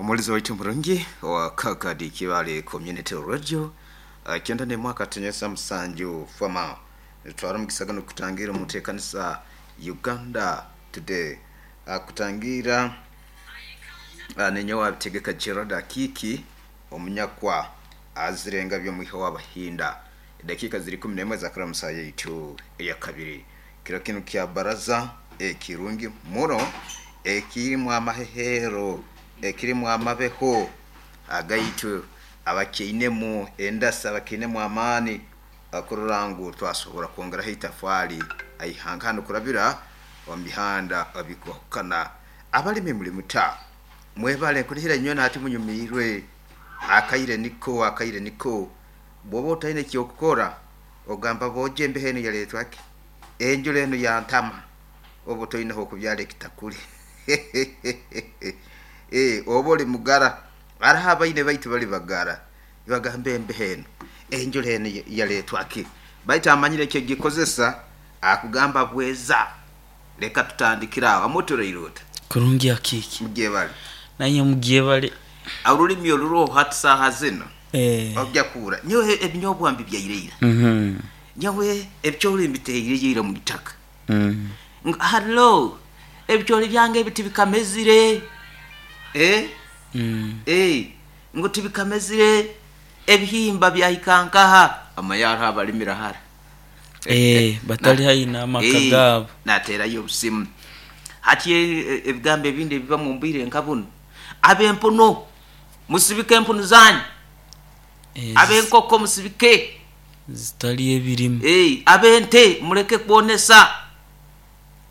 Omuwulizi waitu murungi owa Kakadi Kibale Community Radio 91.7 Fama nitutwara omugisa gunu kukutangiira omu nteekanisa Uganda Today. Akutangiira ninyowe Abitegeka Gerald Akiiki omunyakwa azire engabya omwiha w'Abahinda. Edakiika ziri 11 ezakura mu saaha yaitu eyakabiri. Kiro kinu kya baraza ekirungi muno ekirimu amaheheero, ekirimu amabeho agaitu abakyainemu endasi, abakyainemu amaani kurora ngu twasobora kwongeraho itafaali ha ihanga hanu kurabira omu bihanda ebikwahukana. Abalimi muli muta? Mwebale nkunihira inywena hati munyumiirwe. Akaire niko, akaire niko. Bwoba otaine eky'okukora, ogamba boojo embeho enu yaleetwa ki? Enjura enu yantama. Oba otoine h'okubyara ekitakuri. Ee, oba oli mugara. Haroho abaine baitu bali bagara, nibagamba embeho enu, enjura enu yaleetwa ki? Baitu amanyire ekyogikozesa, akugamba bweza. Leka tutandikire aho. Amutureire ota? Kurungi akiiki. Mugyebale. Nanye mugyebale. Orulimi oruroho hati saaha zinu, ogya kuhurra, nyowe ebinyobwa mbibyaire ira, nyowe ebicoori mbiteireyo ira omu itaka. Ngu hallo, ebicoori byange ebi tibikamezire, eh, eh, ngu tibikamezire, ebihimba byahika nkaha? Omanye hariho abarimira hara. Eh, batali haihi n'amaka gaabo. Nateerayo obusimu. Hati ebigambo ebindi ebibamu omu bwire nka bunu, Ab'empunu, musibike empunu zaanyu, ab'enkoko musibike. Zitali ebirimu. Ab'ente muleke kwonesa.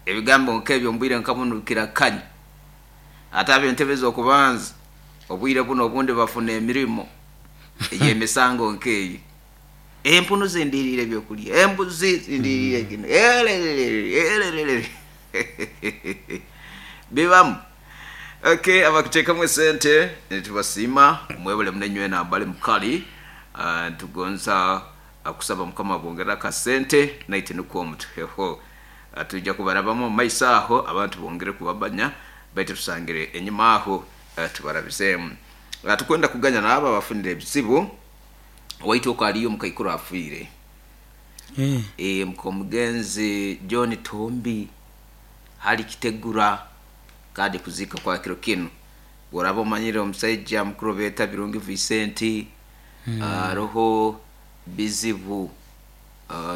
Ebigambo nk'ebyo omu bwire nka bunu bikirakanya. Ate ab'entebe ez'okubanza, obwire bunu obundi bafuna emirimo ey'emisango nk'eyo. Empunu zindiriire ebyokulya, embuzi zindiriire kinu, erererere, erererere. Bibamu. Ok, abakuteekamu esente nitubasiima, mwebale muno inywena abali mukali. Nitugonza kusaba Mukama abongerere akasente naitwe nukwo mutuheho. Twija kubarabamu omu maiso aho abantu bongere kubamanya, baitu tusangire enyima aho tubarabizeemu. Tukwenda kuganya n'abo abafunire ebizibu. Waitu oku hariyo omukaikuru afiire. Eeh mukomugenzi John Tumbi hali Kitegura kandi kuziika kwa kiro kinu. Bworaba omanyire omusaija mukuru beeta Birungi Vincent, haroho bizibu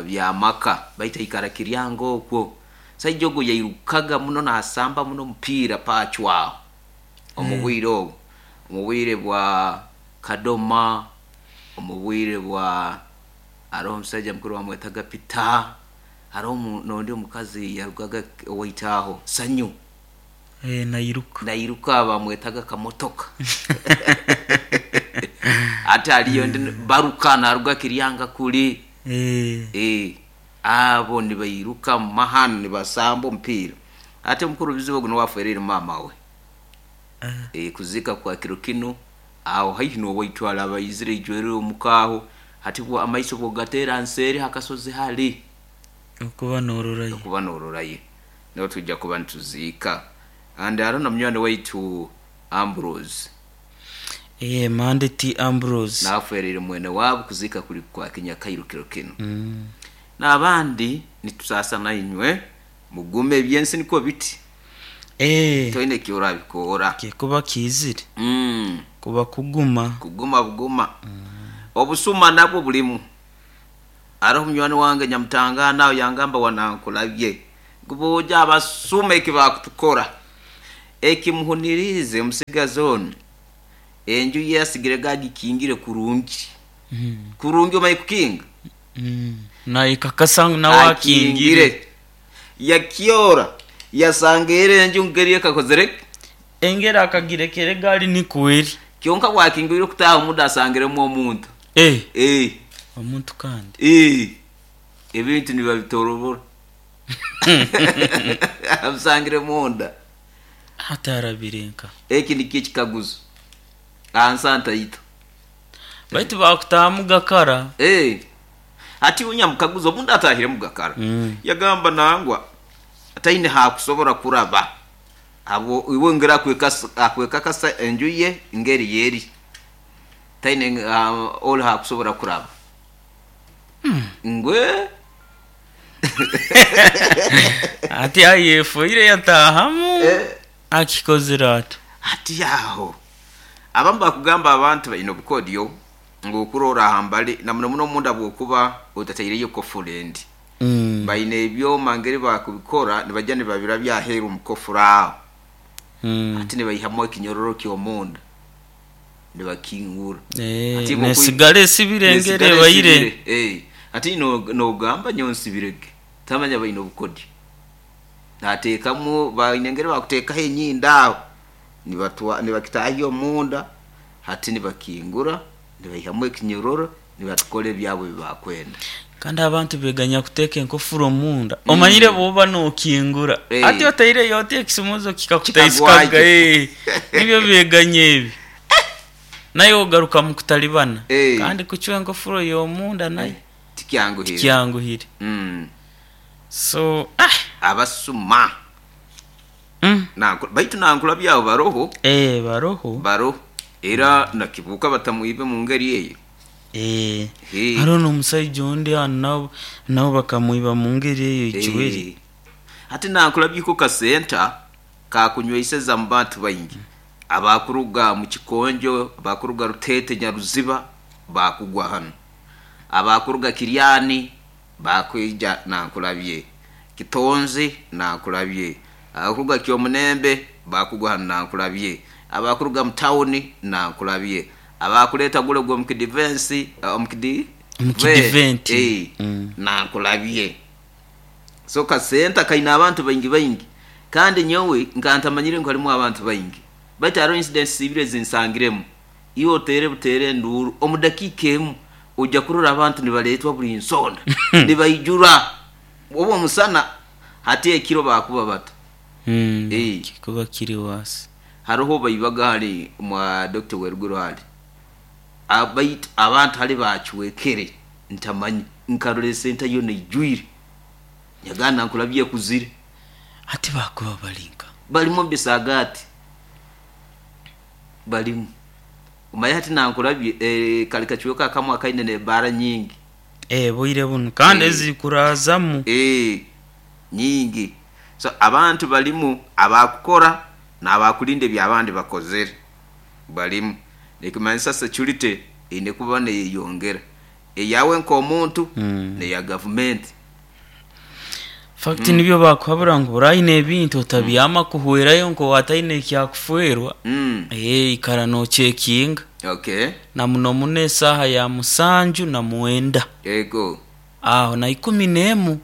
by'amaka baitu aikara Kiryanga okwo. Omusaija ogu yairukaga muno nasamba muno omupiira pacwaho omu bwire obu, omu bwire bwa Kadoma, omu bwire bwa haroho omusaija mukuru bamwetaga Peter, haroho n'ondi omukazi yarugaga owaitu aho Sanyu. Ee, nairuka. Nairuka bamwetaga Kamotoka. Hati hariyo ondi Baruka naruga Kiryanga kuri. Ee. Ee, abo nibairuka omu mahano nibasamba omupiira. Hati omukuru bizibu ogu nuwe afwereire maama we. Ee, kuziika kwa kiro kinu. Aho haihi n'owaitu araba aizire aijwire omuka aho, hati bwo amaiso bw'ogateera nseeri ha kasozi hali. Okuba noororayo. Okuba noororayo. Niho twija kuba nituziika. And hariho na munywani waitu Ambrose. Ee, Mande T. Ambrose. Nawe afwereire mwene waabo, kuziika kuri kwa Kinyakairu kiro kinu. N'abandi nitusaasa nainywe, mugume, eby'ensi nikwo biti. Ee. Toine eki orabikoora. Kikuba kiizire, kuba kuguma. Kuguma buguma. Obusuma nabwo burimu. Haroho munywani wange nyamutangaana aho yangamba wanankulabye ngu boojo abasuma eki baakutukora. Ekimuhuniriize omusigazi onu enju ye asigirege agikingire kurungi. Kurungi omanye kukinga? Naayekakasa ngu nawe akingire. Akingire. Yakyora, yasanga eri enju ngeri ekakozire ki? Engeri akagirekera egaari nikwo eri. Kyonka bwakingwire okutaaha omunda asangiremu omuntu. Eh! Eh! Omuntu kandi? Eh! Ebintu nibabitorobora. Abisangire munda. Hati arabire nka? Eki nikyo ekikaguzo aha nsi ntaito. Baitu baakutaahamu gakara. Eh! Hati iwe nyamukaguza obundi ataahiremu gakara. Yagamba nangwa taine haakusobora kuraba. Habwo iwe ngeri akwekakasa enju ye ngeri yeri taine oli hakusobora kuraba ngwe. Ati ayefoire yatahamu akikozire ata? Hati aho abamu bakugamba abantu baine obukodyo ngu okurora aha mbali na muno muno omunda bwokuba otataireyo kofuro endi. Baine ebyoma ngeri bakubikora nibaija nibabirabya aheeru omu kofuro aho. Hati nibaihamu ekinyororo ky'omunda nibakingura. Hati iwe Nesigara esibire engeri nesigara ebaire. esibire. Hati nogamba nyowe nsibire ge. Tamanya baine obukodyo. Nateekamu baine engeri bakuteekaho enyindo aho nibakitahya omunda hati nibakingura nibaihamu ekinyororo nibatukora ebyabo ebi bakwenda. Kandi abantu beganya kuteeka enkofuro omunda. Omanyire bwoba nokingura hati otaireyo oti ekisumuuzo kikakutaisikaga. Kikagwayo. Nibyo beganya ebi. Naye ogaruka mu kutalibana. Kandi kucwa enkofuro y'omunda nayo Tikyanguhire. Tikyanguhire. So ah. Abasuma. Baitu nankura byabo baroho. Baroho. Baroho. Era nakibuuka batamwibe mu ngeri eyo. Haroho n'omusaija ondi hanu nabo nabo bakamwiba mu ngeri eyo Icweri. Hati nankura byiko kasenta kakunyweiseza mu bantu baingi. Abakuruga mu Kikonjo, abakuruga Ruteete Nyaruziba bakugwa hanu. Abakuruga Kiryani bakwija Nankulabye. Kitonzi Nankulabye. Abakuruga Kyomunembe bakugwa hanu Nankulabye. Abakuruga mu tawuni Nankulabye. Abakuleeta gule ogw'omukidivensi, omukidi Omukidiventi. Nankulabye. So kasenta kaine abantu baingi baingi. Kandi nyowe nka ntamanyire ngu harimu abantu baingi. Baitu hariho incidents ibiri ezinsangiremu. Iwe oteere buteere enduuru, omu dakiika emu oija kurora abantu nibaleetwa buri nsonda, nibaijura. Oba omusana, hati ekiro baakuba bata? Kikuba kiri worse. Haroho baibaga hali mwa Dokita Weruguru hali. Baitu abantu hali baacwekere ntamanye. Nkarora esenta yoona eijwire. Nyagamba nkurabya ekuzire. Hati baakuba bari nka? Barimu omu bisaagaati. Barimu. Omanye hati nankurabye kari kacweka akamwe akaine n'ebaara nyingi. Bwire bunu kandi ezirikuraazamu. Nyingi. So abantu barimu abakukora n'abakurinda ebi abandi bakozere. Barimu. Nikimanyisa security eine kuba neyeyongera. Eyawe nk'omuntu n'eya gavumenti. Fact nibyo bakuhabura ngu oraine ebintu otabyama kuhwerayo nk'owataine ekyakufwerwa. Ikara nocekinga. Na muno muno esaaha ya musanju na mwenda. Aho na ikumi n'emu.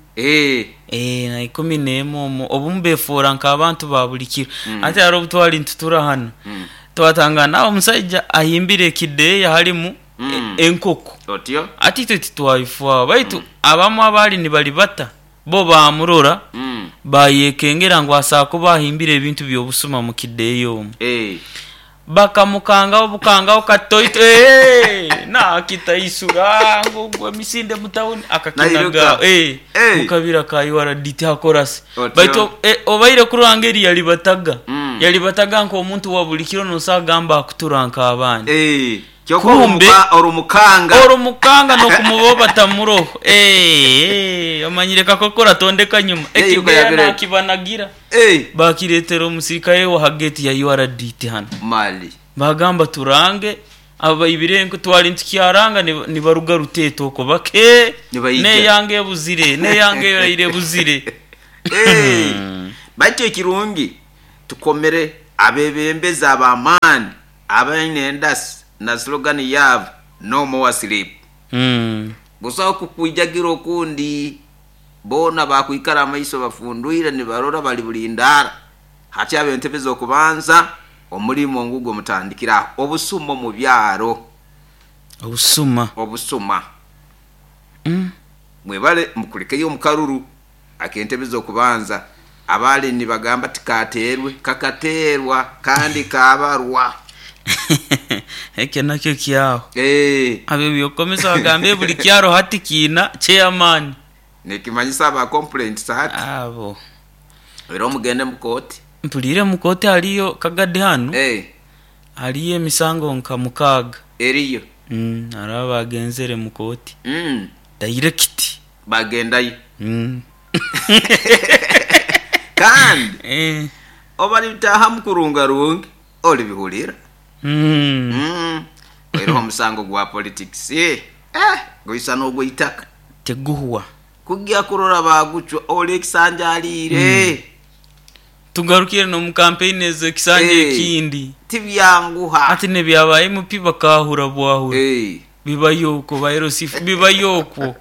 Na ikumi n'emu omwo obumu befoora nk'abantu ba buri kiro. Hati hariho obu twari nitutura hanu, twatangana omusaija ahimbire ekideeya harimu enkoko. Hati itwe titwabifwaho baitu abamwe abaali nibaribata bo baamurora baayekengera ngu asobola kuba ahimbire ebintu by'obusuma mu kideeya omwo. Bakamukangaho bukangaho katoito naakitaisura ngu ogwo emisinde mu tawuni akakinaga mu kabira ka URD tihakorasi. Baitu obaire kurora ngeri yaribataga, yaribataga nk'omuntu wa buri kiro nosobola kugamba akutura nk'abandi. Kyoka Kumbe orumukanga. Orumukanga n'okumubaho batamuroho. Omanyire kakokora tondeka nyuma. Yairuka Ekideeya yabireka. naakibanagira. Baakireetera omusirikare w'aha geeti ya URDT hanu. Mali. Baagamba turange abaibire enku. Twari nitukyaranga nibaruga Ruteete okwo bake. Nibaija. N'eyange ebuzire, n'eyange eraire ebuzire. Baitu ekirungi tukomere abebembezi ab'amaani abaine endasi na slogan yaabo No more sleep. Busaho kukwijagira okundi, boona baakwikara amaiso bafundwire nibarora bali bulindaara. Hati ab'entebe z'okubanza omulimo ngugwo mutandikire aho. Obusuma omu byaro. Obusuma. Obusuma. Mwebale mukulikeyo omu karuru ak'entebe z'okubanza. Abaali nibagamba tikateerwe, kakateerwa kandi kaabarwa. Ekyo nakyo kyaho. Ab'eby'okukomesa bagamba buri kyaro hati kiina chairman. Nikimanyisa aba complaints hati. Abo. Era omugende mu kooti. Mpuliire mu kooti hariyo Kagadi hanu hariyo emisango nka mukaaga. Eriyo. Hariho abaagenzere mu kooti dairekiti. Baagendayo. Kandi obu baribitaahamu kurungarungi oribihurira. Oihireho omusango gwa politikisi, gwisa n'ogw'eitaka. Tiguhwa. Kugya kurora baagucwa ori ekisanja ariire. Tugarukire n'omu kampeyini ezo ekisanja ekindi. Tibyanguha. Hati n'ebya ba MP bakaahura bwahura. Bibayo okwo ba LC bibayo okwo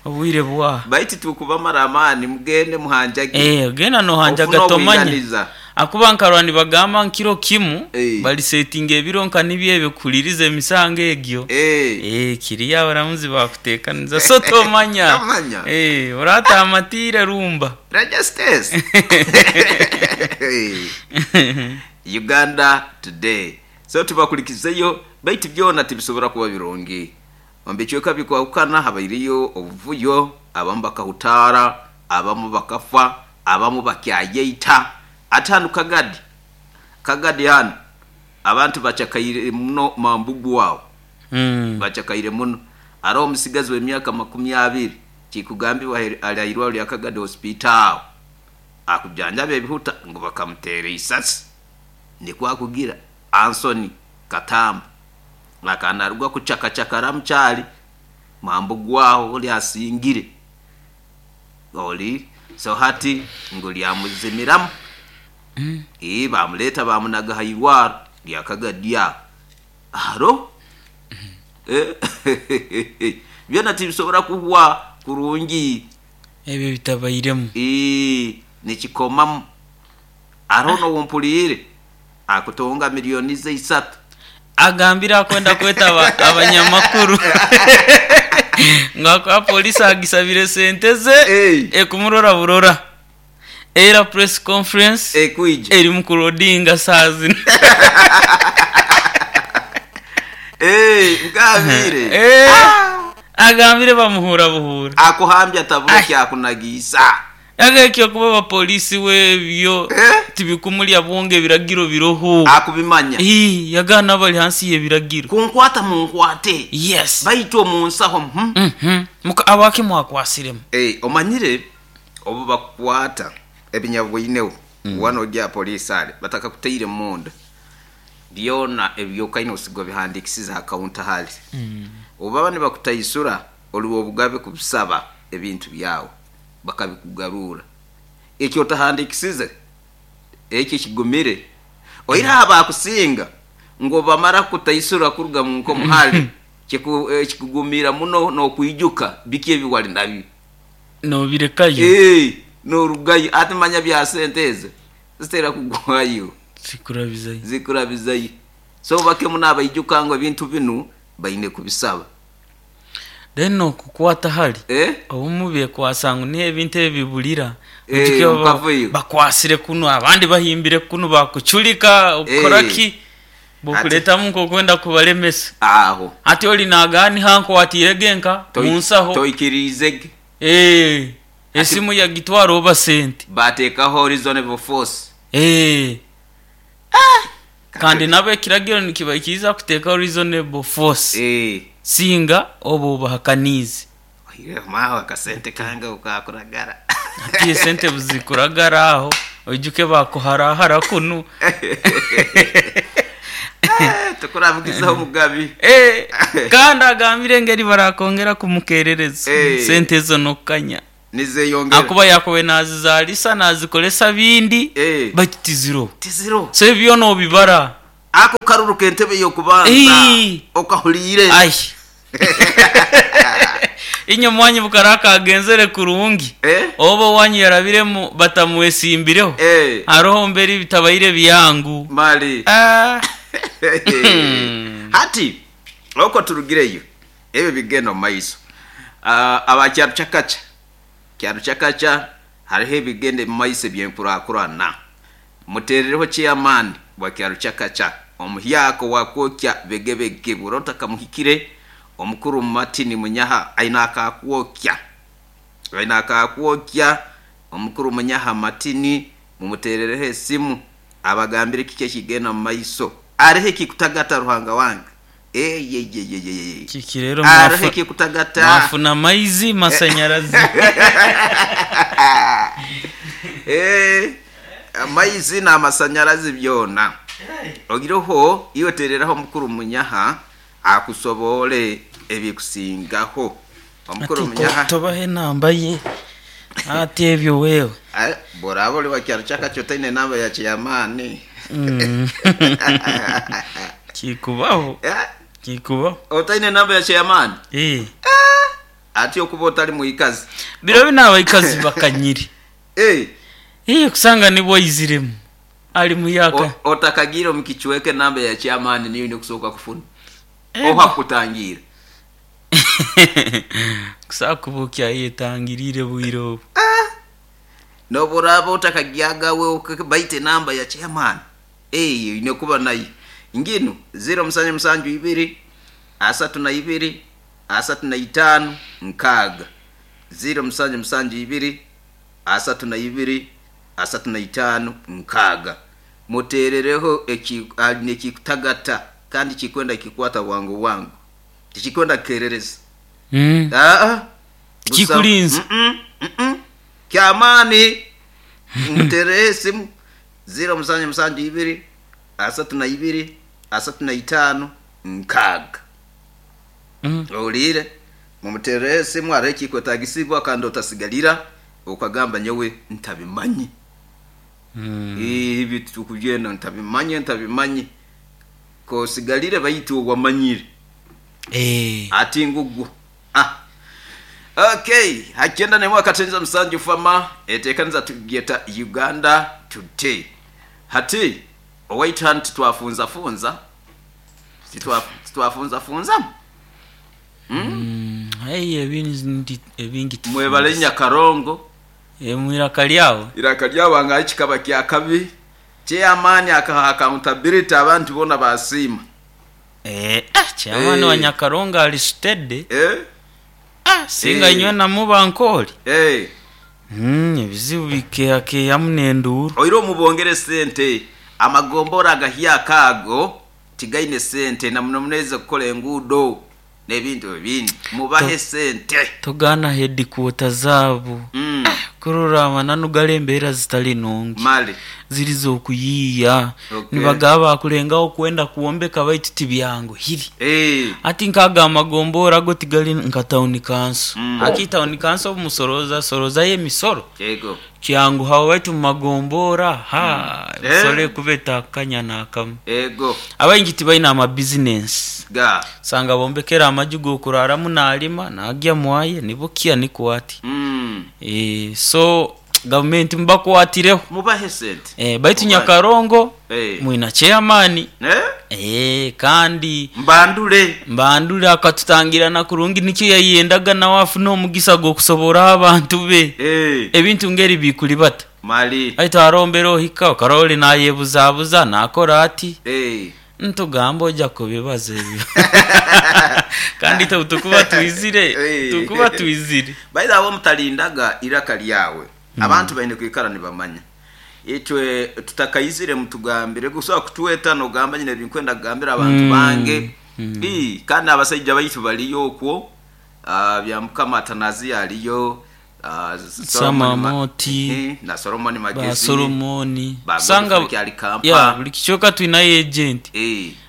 obwire bwaha. Baitu tikubamara amaani mugende muhanjage. Genda nohanjaga Ofune tomanya. obwinganiza. Ahakuba nkarora nibagamba ngu kiro kimu barisetinga ebiro nka nibyo ebyo kuhuririza emisango egyo. Kiriyo abaramuzi bakutekaniza so tomanya. Tomanya. Orataamatiire rumba. Registes. Uganda Today. So tubakurikizeyo baitu byona tibisobora kuba birungi. Omu bicweka bikwahukana habaireyo obuvuyo, abamu bakahutaara, abamu bakafa, abamu bakyayeita. Ati hanu Kagadi, Kagadi hanu abantu bacakaire muno Mambugu aho. Bacakaire muno. Haroho omusigazi w'emyaka 20 kikugambibwa ali aha irwariro rya Kagadi Hospital aho akujanjaba ebihuta ngu bakamuteera eisasi. Nikwo akugira Anthony Katamba akaba naruga kucakacakara mukyari Mambugu aho ori asingire ori so hati ngu ryamuzimiramu ii bamureeta bamunaga aha irwariro rya Kagadi aho haro byona tibisobora kuhwa kurungi. Ebyo bitabairemu. Ii nikikomamu hariho n'ou mpuriire akutunga milioni ze isatu. Agambire akwenda kweta abanyamakuru ngu ahakuba poliisi agisabire sente ze ekumurora burora. Era press conference Ekwija. erimu kurodinga saaha zinu. Ngambire. Agambire bamuhuura buhuura. Akuhambya atabura eki akunagiisa. Yaga eky'okuba abapoliisi we ebyo tibikumurya bwongo ebiragiro biroho. Akubimanya. Ii, yagaana abari hansi y'ebiragiro. Kunkwata munkwate. Yes. Baitu omu nsaho hmm. Mhm. Muka abaki mwakwasiremu? Eh, omanyire obu bakukwata ebinyabwoineho wanu ori aha poliisi hare batakakutaire munda byona ebi okaine osiga obihandiikisize aha counter hare. Obu baba nibakutaisura ori w'obugabe kubisaba ebintu byawe bakabikugaruura. Eki otahandiikisize ekyo kigumire. Oihireho aha baakusinga ngu obu bamara kukutaisura kuruga mu nkomo hare kikugumiira muno n'okwijuka biki ebi wari nabyo. Noobirekayo. Ee, noorugayo. Hati manya bya sente ezo zitera kugwayo. Zikurabizayo. Zikurabizayo. So bake muno abaijuka ngu ebintu binu baine kubisaba. Then nokukwata hare, obumwe bekwasa ngu niho ebintu ebi biburira. Oijuke Mukavuyo. bakwasire kunu abandi bahimbire kunu bakucurika okukora ki bokuretamu nk'okwenda kubaremesa. Aho. Hati ori nagamba niho ankwatiire ge nka munsaho. Toikiriize ge. Esimu yagitwara oba sente. Bateekaho reasonable force. Kandi nabo ekiragiro nikibaikiriza kuteekaho reasonable force singa oba obahakaniize. Oihireho maawe akasente kange obu kakuragara. Hati esente obu zikuragara aho oijuke bakuharahara kunu. Tukurabugizaho omugabi. Kandi agambire engeri barakwongera kumukerereza sente ezo n'okukanya. Nizeyongera. Ahakuba yakubaire nazizaarisa nazikoresa bindi baitu tiziroho. Tiziroho. So ebyo byona obibara. Ako karuru k'entebe y'okubanza okahuriire. Ai. Inywe omwanyu bukara kagenzere kurungi. Oba owanyu yarabiremu batamwesimbireho. Haroho mberi bitabaire byangu. Mali. Hati okwo turugireyo ebyo bigenda omu maiso. Aba Kyarucakaca, Kyarucakaca hariho ebigenda omu maiso eby'enkurakurana. Muteerereho chairman wa Kyarucakaca omuhyaka owakwokya begebege bw'oraba otakamuhikire omukuru Martin Munyaha aine akakwokya. Aine akakwokya omukuru Munyaha Martin. Mumuteerereho esimu abagambire kiki ekigenda mu maiso. Areho ekikutagata Ruhanga wange. Eyeyeyeyeye. Kiki rero Areho ekikutagata. mwafuna maizi masanyarazi. Eh, amaizi n'amasanyarazi byona. Oiroho iwe teereraho omukuru Munyaha akusoboore ebikusingaho. Omukuru Ati Munyaha. tobaha enamba ye ati ebyo wewe. Eh, bw'oraaba ori wa kyaro ky'akakye otaine namba ya cheyamaani. Kikubaho. Eh, Kikubaho. otaine namba ya cheyamaani? Eh. Ati okuba otali mwikazi. Biro binu abaikazi bakanyire. Eh. Eh, kusanga nibwo aiziremu. Ali muyaka. Otakagiire omu kicweka enamba ya cheyamaani niyo oine kusooka kufuna. Eh, Oha kutangiira. Kusobola kuba okyayetangiriire bwire obu. N'obu oraaba otakagyagawe baitu enamba ya chairman eyo oine kuba nayo. Nginu ziro musanju musanju ibiri 32 35 6 ziro musanju musanju ibiri 32 35 6 Muteerereho aine ekikutagata kandi kikwenda kikwata bwangu bwangu. Tikikwenda kukerereza. Aa, Tikikurinza. Kyamaani. Muteereho esimu ziro musanju musanju ibiri 32 35 6. Ohuriire? Mumuteereho esimu hariho ekikwetagisibwa kandi otasigarira okagamba nyowe ntabimanye. Ebi tukubyenda ntabimanye ntabimanye. Kosigarire baitu wamanyire. Ati ngugwo. Okay, hakyenda nemwe akatenza musanju fama etekaniza tugyeta Uganda Today. Hati owaitu hanu titwafunza funza. Titwafunza funza. Hey, ebingi ebingi tufunza. Mwebale Nyakarongo. Mwiraka lyawe. Iraka lyawe nga kikaba kya kabi. Chairman akaha accountability abantu bona basiima. Chairman wa Nyakarongo ali steady. Singa inywe namuba nkoli. Ebizibu bikeyakeyamu n'enduuru. Oire omubongere sente amagombora agahyaka ago tigaine sente na muno muneza kukola enguudo n'ebintu ebindi. Mubahe sente. Togaana headquarter zaabo. Kurora amananu gari embeera zitari nungi. Mali. Ziri z'okuyiiya. Nibagaba bakurengaho kwenda kwombeka baitu tibyanguhire. Hati nk'ago amagombora ago tigari nka tawuni kanso. Hati tawuni kanso obumusoroza sorozayo emisoro. Kyanguhaho baitu omu magombora ha emisoro ekuba etakanya n'akamwe. Abaingi tibaine amabizinesi. Osanga bombekere amaju g'okuraramu narima nagya mwaye nibukya nikwo ati. So gavumenti mubakwatireho. Mubahe sente. Baitu Nyakarongo mwina chairman. Kandi Mbandule. Mbandule akatutangirana kurungi nikyo yayendaga nawe afune omugisa gw'okusoboraho abantu be. Ebintu ngeri bikuribata. Mali. Baitu arombera ohika okarora ori nayebuzabuza nakora ati. Ntugamba oja kubibaza ebyo. Kandi itwe tukuba twizire, tukuba twizire. By the way, mutalindaga iraka lyawe. Abantu baine kwikara nibamanya. Itwe tutakaizire mutugambire gusobola kutweta nogamba nyine ebinkwenda kugambira abantu bange. Kandi abasaija baitu baliyo okwo. Bya Mukama Atanazi aliyo. Samamoti. Na Solomon Magezi. Ba Solomoni. Ba Sanga Godfrey Kyali Kampa. Ya, buli kicweka twinayo agent.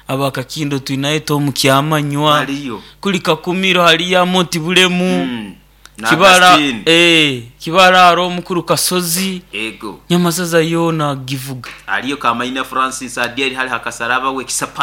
Abakakindo twinayo Tom Kyamanywa. Hariyo. Kuli Kakumiro hariyo Amoti Bulemu. Na Kibara, Augustine. Kibara hariho omukuru Kasozi. Ego. Nyamasaza yoona agivuga. Hariyo Kamaina Francis Adieri hari Hakasaraba we Kisapata.